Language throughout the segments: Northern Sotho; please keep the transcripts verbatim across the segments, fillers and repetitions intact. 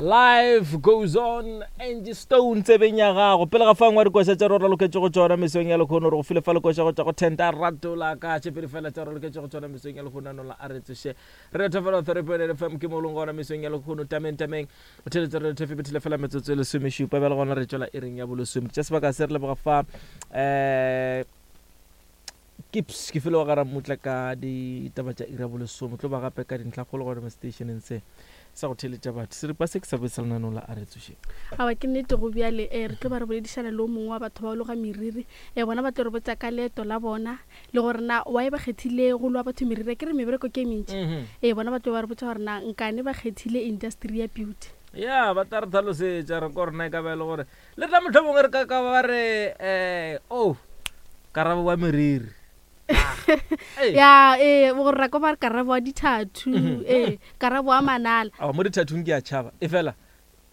Life goes on. Angie Stone tsebeng ya gago. Pele ga fa ngwa dikoša tša re raloketše go tšona mesong ya lekgono, re go file fa lekoša go tšwa go Tenta Ratola ka tše pedi fela tša re raloketše go tšona mesong ya lekgono anola a re tsoše. Re thofela three point eight F M ke mo leng gona mesong ya lekgono tameng tameng. O theletše re thefe bethile fela metsotso e lesomešupa bjale gona re tšwela ering ya bolesome. Tša sebaka se re leboga fa eh Kips ke felo ga Ramutla ka ditaba tša iri ya bolesome tlo ba gape ka dintlhakgolo gona mo stationeng se sa go theletša batho. Seripa se ke sa botsa lenaneo la a re tsoše. Awa ke nnete go bjale eh re tlo ba re boledišana le o mongwe wa batho ba loga meriri. Eh bona ba tlo re botsa ka leeto la bona le gore na why ba kgethile go loa batho meriri, ke re mebereko ke e mentši. Eh bona ba tlo ba re botsa gore na nkane ba kgethile industry ya beauty. Ya ba tla re tlhalosetša re ko rena e ka ba e le gore le tla mohlomongwe re ka ka ba re eh oh karabo wa meriri. Ya eh gore ra ko ba re karabo wa dithathu eh karabo wa manala. A mo dithathung ke a tšhaba e fela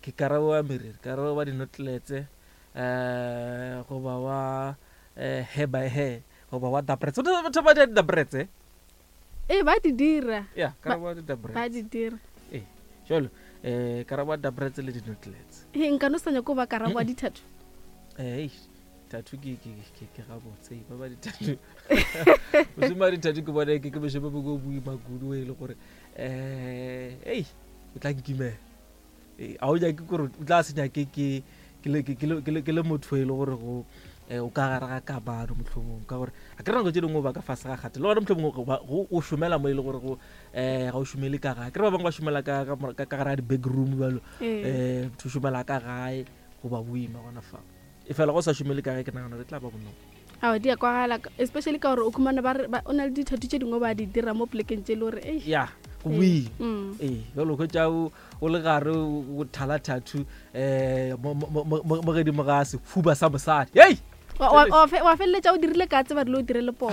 ke karabo wa meriri, karabo wa dinotletse eh goba wa eh hair by hair goba wa dabrets. Batho ba di dabrets eh? Eh ba di dira. Ya karabo wa di dabrets. Ba di dira. Eh jalo eh karabo wa dabrets le dinotletse. Eh nka no sa nyako ba karabo wa dithathu. Eh tattoo ke ke ke ke ga botse ba ba di-tattoo. Mošomo wa di-tattoo ke bona ke ke mošomo mo boima kudu e le gore eh ei o tla nkimela. Eh a o nyake gore o tla se nyake ke ke le ke le ke le motho e le gore go o ka gare ga kamano mohlomong ka gore a ke re nako tše dingwe ba ka fase ga kgate le gona mohlomongwe go o šomela mo e le gore go eh ga o šomele ka gae. Ke re ba bangwe ba šomela ka ka ka gare ga di-back room bjalo eh motho o šomela ka gae goba boima gona fa. E fela go sa šomele ka gae ke nagana re tla ba bonolo. Awa di a kwagala especially ka gore o khumana ba re o na le dithathu tše dingwe ba di dira mo plekeng tše le gore ei ya go boima. Ee jalo hwetša o le gare o thala tattoo eh mo godimo ga sefuba sa mosadi. Hei wa feleletša o dirile ka tseba dilo o dire le poo.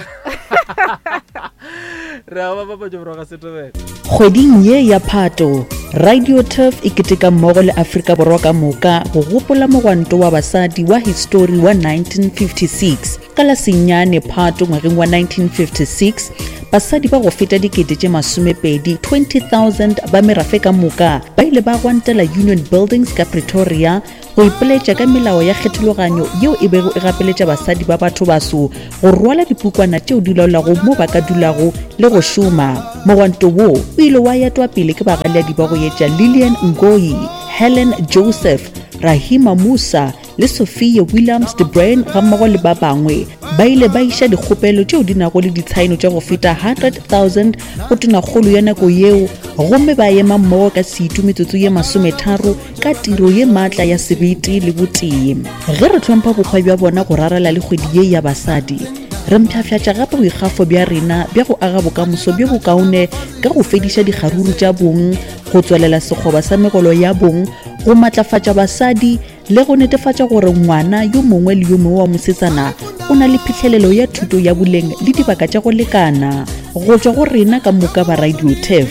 Re a ba bapatša borwa ga Setobela. Kgweding ye ya Phato, Radio Turf e keteka mmogo le Afrika Borwa ka moka go gopola mogwanto wa basadi wa histori wa nineteen fifty-six. Ka la senyane Phato ngwageng wa nineteen fifty-six, basadi ba go feta dikete tše masomepedi twenty thousand ba merafe ka moka ba ile ba gwantela Union Buildings ka Pretoria go ipoletša ka melao ya kgethologanyo yeo e bego e gapeletša basadi ba batho baso go rwala dipukwana tšeo di laolago mo ba ka dulago le go šoma. Mogwanto wo o ile wa etwa pele ke bagaleadi ba go etša Lillian Ngoyi, Helen Joseph, Rahima Musa le Sophia Williams de Bruyn gammogo le ba bangwe. Ba ile ba iša dikgopelo tšeo di nago le ditshaeno tša go feta hundred thousand go tonakgolo ya nako yeo, gomme ba ema mmogo ka setu metsotso ye masometharo ka tiro ye maatla ya sebete le botee. Ge re hlompha bokgwa bja bona go rarela le kgwedi ye ya basadi, re mpshafšatša gape boikgafo bja rena bja go aga bokamoso bjo bokaone ka go fediša dikgaruru tša bong, go tswelela sekgoba sa megolo ya bong, go matlafatša basadi le go netefatša gore ngwana yo mongwe le yo mongwe wa mosetsana o na le phihlelelo ya thuto ya boleng le dibaka tša go lekana. Go tšwa go rena ka moka ba Radio Turf,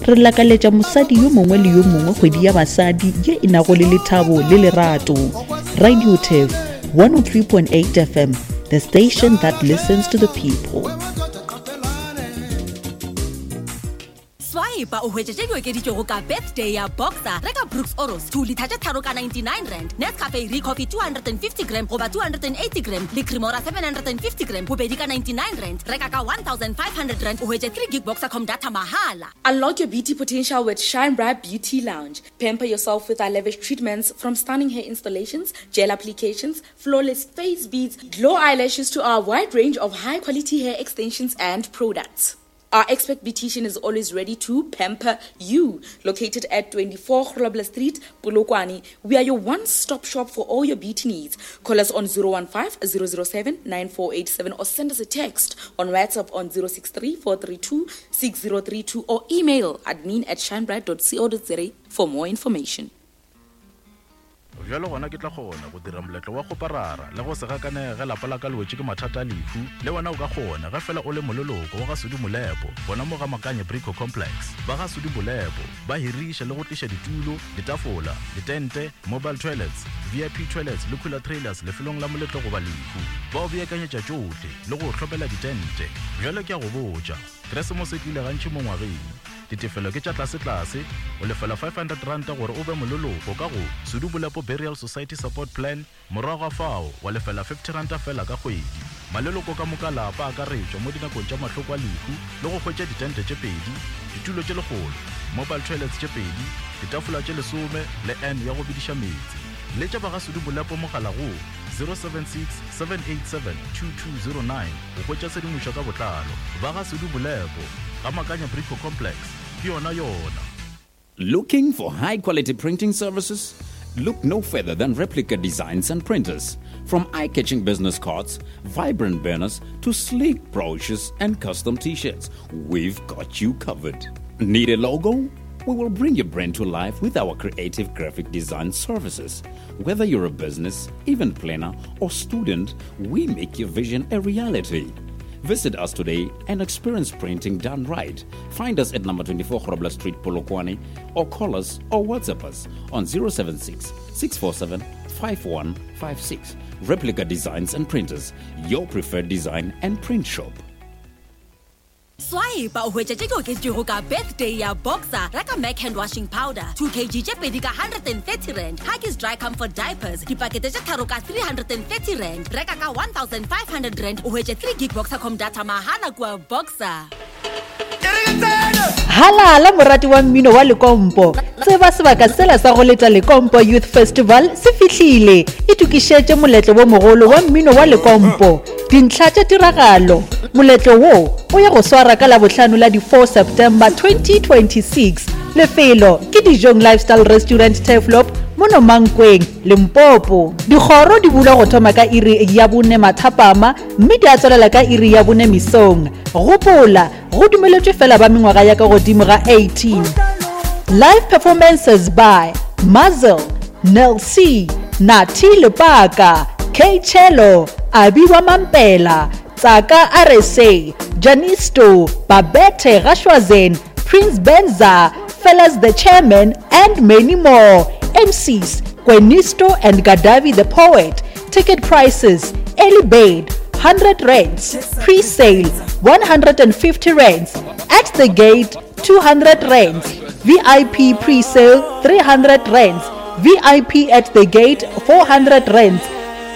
re lakaletša mosadi yo mongwe le yo mongwe kgwedi ya basadi ye e nago le lethabo le lerato. Radio Turf one oh three point eight F M, the station that listens to the people. Swipe o hwetše tše di okeditšwego ka birthday ya Boxer. Reka Brooks Oros two litha tše tharo ka ninety-nine rand, Nescafe Recoffee two hundred and fifty gram goba two hundred and eighty gram le Cremora seven hundred and fifty gram bobedi ka ninety-nine rand. Reka ka one thousand five hundred rand o hwetše three gig Boxercom data mahala. Unlock your beauty potential with Shine Bright Beauty Lounge. Pamper yourself with our lavish treatments, from stunning hair installations, gel applications, flawless face beads, glow eyelashes to our wide range of high quality hair extensions and products. Our expert beautician is always ready to pamper you. Located at twenty-four Grobler Street, Polokwane, we are your one-stop shop for all your beauty needs. Call us on zero one five, zero zero seven, nine four eight seven or send us a text on WhatsApp on zero six three, four three two, six zero three two or email admin at shinebright dot co dot za for more information. Bjalo gona ke tla kgona go dira moletlo wa go parara le go se gakanege lapa la ka le wetše ke mathata a lehu. Le wena o ka kgona ge fela o le moleloko wa ga Sudi Molepo gona mo ga Makanye Brico Complex. Ba ga Sudi Molepo ba hiriša le go tliša ditulo, ditafola, ditente, mobile toilets, V I P toilets le cooler trailers lefelong la moletlo goba lehu. Ba o beakanyetša tšohle le go o hlopela ditente. Bjalo ke a go botša, Keresemose e tlile gantši mo ngwageng. Ditefelo ke tša tlasetlase, o lefela five hundred ranta gore o be moleloko ka go Sudu Bolepo Burial Society Support Plan, morago ga fao wa lefela fifty ranta fela ka kgwedi. Maleloko ka moka lapa a akaretšwa mo dinakong tša mahloko a lehu le go hwetša ditente tše pedi, ditulo tše lekgolo, mobile toilets tše pedi, ditafola tše lesome le N ya go bediša meetse. Letša ba ga Sudu Bolepo mogala go zero seven six, seven eight seven, two two zero nine go hwetša tshedimošo ka botlalo. Ba ga Sudu Bolepo, ga Makanya Brico Complex, ke yona yona. Looking for high quality printing services? Look no further than Replica Designs and Printers. From eye-catching business cards, vibrant banners, to sleek brochures and custom t-shirts, we've got you covered. Need a logo? We will bring your brand to life with our creative graphic design services. Whether you're a business, event planner, or student, we make your vision a reality. Visit us today and experience printing done right. Find us at number twenty-four Grobler Street, Polokwane, or call us or WhatsApp us on zero seven six, six four seven, five one five six. Replica Designs and Printers, your preferred design and print shop. Swipe o hwetša tše di oketšwego ka birthday ya Boxer. Reka Mac hand washing powder two kilograms tše pedi ka hundred and thirty rand, Huggies dry comfort diapers dipakete tše tharo ka three hundred and thirty rand. Reka ka one thousand five hundred rand o hwetše three gig Boxercom data mahala kua Boxer. Halala morati wa mmino wa Lekompo, tseba sebaka sela sa go leta Lekompo Youth Festival se fihlile. Itokišetše moletlo wo mogolo wa mmino wa Lekompo. Dintlha tša tiragalo. Moletlo wo o ya go swara ka Labohlano la di four September twenty twenty-six. Lefelo ke Dijong Lifestyle Restaurant Turfloop mono Mankweng, Limpopo. Dikgoro di bulwa go thoma ka iri ya bone mathapama mme di a tswelela ka iri ya bone mesong. Gopola, go dumeletšwe fela ba mengwaga ya ka godimo ga eighteen. Live performances by Mazel, Nel C, Nati Lepaka, K Chelo, Abiwa Mampela, Tsaka R S A, Janisto, Babette Gashwazen, Prince Benza, Fellas the Chairman, and many more. M Cs, Kwenisto and Gadavi the Poet. Ticket prices, early bird, hundred rands, pre-sale, one hundred and fifty rands, at the gate, two hundred rands, V I P pre-sale, three hundred rands, V I P at the gate, four hundred rands.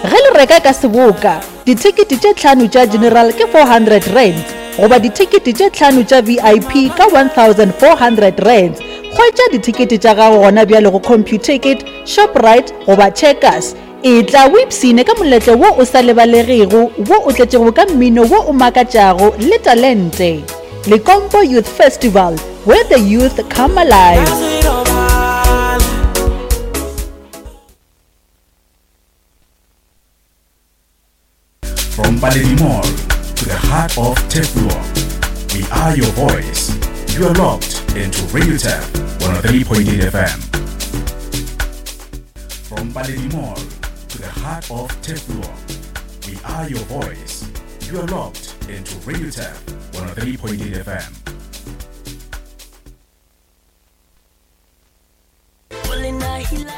Ge le reka ka seboka, dithekete tše tlhano tša general ke four hundred rands, goba dithekete tše tlhano tša V I P ka one thousand four hundred rands. Hwetša dithekete tša gago gona bjale go Computicket, Shoprite goba Checkers. E tla o ipsine ka moletlo wo o sa lebalegego, wo o tletšego ka mmino wo o makatšago le talente. Lekompo Youth Festival, where the youth come alive. From Paledi Mall to the heart of Turfloop, we are your voice. You are locked into Radio Turf one oh three point eight F M. From Paledi Mall to the heart of Turfloop, we are your voice. You are locked into Radio Turf one oh three point eight F M.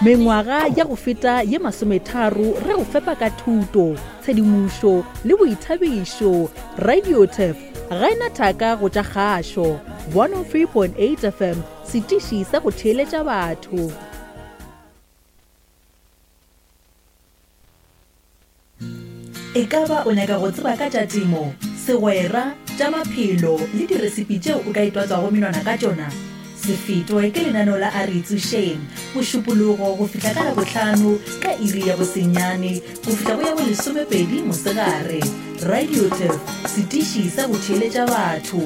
Mengwaga ya go feta ye masometharo re go fepa ka thuto, tshedimošo le boithabišo. Radio Turf ga ena thaka go tša kgašo. one oh three point eight F M, setiši sa go theeletša batho. E ka ba o nyaka go tseba ka tša temo, segwera, tša maphelo le diresipi tšeo o ka itwatswago menwana ka tšona? Se fetwe ke lenaneo la A Re Itsošeng, Mošupologo go fihla ka Labohlano ka iri ya bosenyane go fihla go ya bo lesomepedi mosegare. Radio Turf, setiši sa go theeletša batho.